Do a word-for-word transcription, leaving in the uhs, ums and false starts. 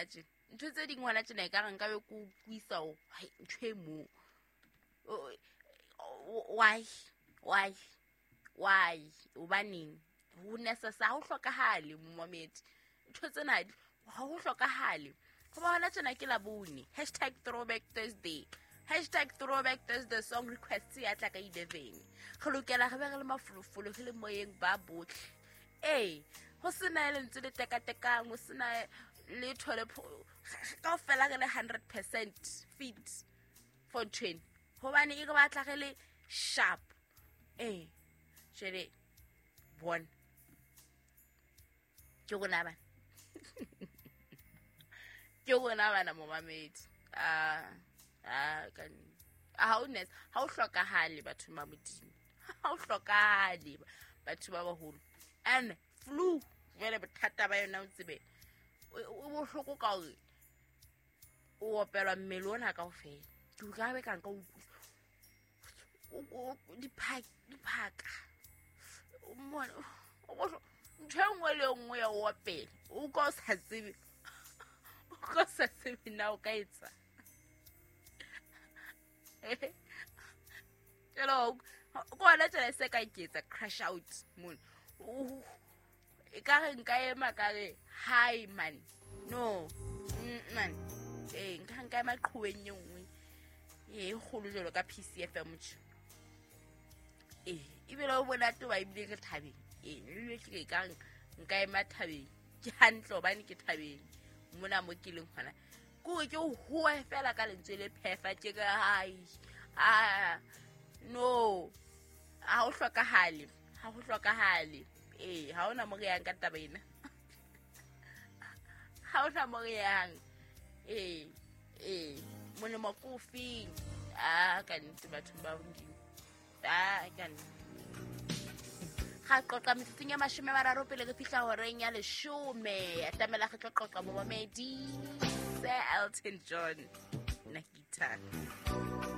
hona tjena ntho tse ding hona tjena e ka re nka be ke utlwisa o hai ntho e mo why why why hobaneng ho necessary ha ho hlokahale momamedi ntho tsena ha ho hlokahale hoba hona tjena ke Labone hashtag throwback Thursday hashtag throwback Thursday song request ya tla ka eleven re lokela re be re le mafolofolo re le moyeng ba botlhe ee ho sena lentswe le tekatekang ho sena letho le kaofela re le hundred percent fit for ntho ena hobane e re batla re le sharp ee jwale bona ke rona bana ke rona bana momamedi ah ah ka ha o nes ha o hlokahale batho ba Modimo ha o hlokahale batho ba baholo and flu jwale bothata ba yona o tsebe o bohloko ka hore o opelwa mmele ona kaofela ke utlwa be ka nka utlwisa diphaka diphaka ntho e nngwe le nngwe ya o opela o ka o sa tsebe o ka o sa tsebe na o ka etsa jalo ko hona tjena se ka ke etsa crash out mona e ka re nka ema ka re hi man no man ee nka nka ema qhoweng e nngwe e kgolo jwalo ka P C F M tje ee ebile o monate wa ebile re thabeng ee ebile ke ka nka ema thabeng ke hantle hobane ke thabeng mona mo ke leng hona ke hore ke howe fela ka lentswe le phefa ke ka hai ah no ha ho hlokahale ha ho hlokahale ee ha hona mo re yang ka taba ena ha hona mo re yang ee ee molemo ke ofeng ah ka nnete batho ba Modimo ah ka nnete ga qoqa metsotsong ya mashome a mararo pele re fihla horeng ya leshome atamela re tlo qoqa momamedi Sir Elton John Nakita.